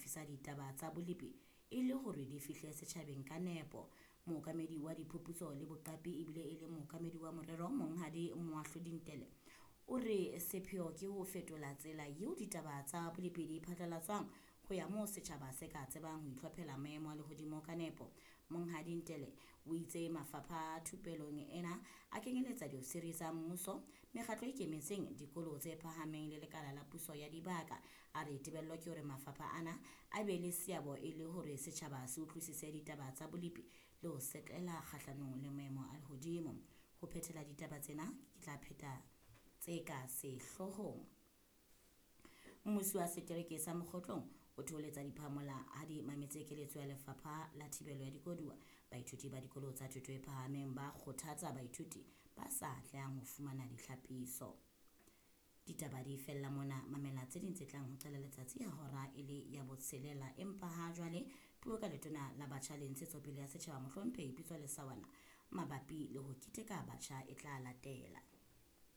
mathisa ditaba tsa bolepi e le hore di fihle setjhabeng ka nepo. Mookamedi wa diphuputso le boqapi ebile e le mookamedi wa morero Monghadi Moahlodi Ntele o re sepheo ke ho fetola tsela eo ditaba tsa bolepi di phatlalatswang ho ya moo setjhaba se ka tsebang ho itlhophela maemo a lehodimo ka nepo. Monghadi Ntele o itse mafapha a thupelong ena a kenyeletsa diofisiri tsa mmuso, mekgatlo e ikemetseng, dikolo tse phahameng le lekala la puso ya dibaka. A re tebello ke hore mafapha ana a be le seabo e le hore setjhaba se utlwisise ditaba tsa bolepi le ho setlela kgahlanong le maemo a lehodimo. Ho phethela ditaba tsena ke tla pheta tse ka sehloohong. Mmusi wa setereke sa Mokgotlong o theoletsa diphamola ha di mametse keletso ya lefapha la thibelo ya dikoduwa. Baithuti ba dikolo tsa thuto e phahameng ba kgothatsa baithuti ba sa atlehang ho fumana ditlhapiso. Ditaba di fella mona, mamela tse ding tse tlang ho qala letsatsi ha hora e le ya botshelela. Empa ha jwale puo ka letona la batjha le ntshetsopele ya setjhaba Mohlomphehi Pitso Lesawana mabapi le ho keteka batjha e tla latela.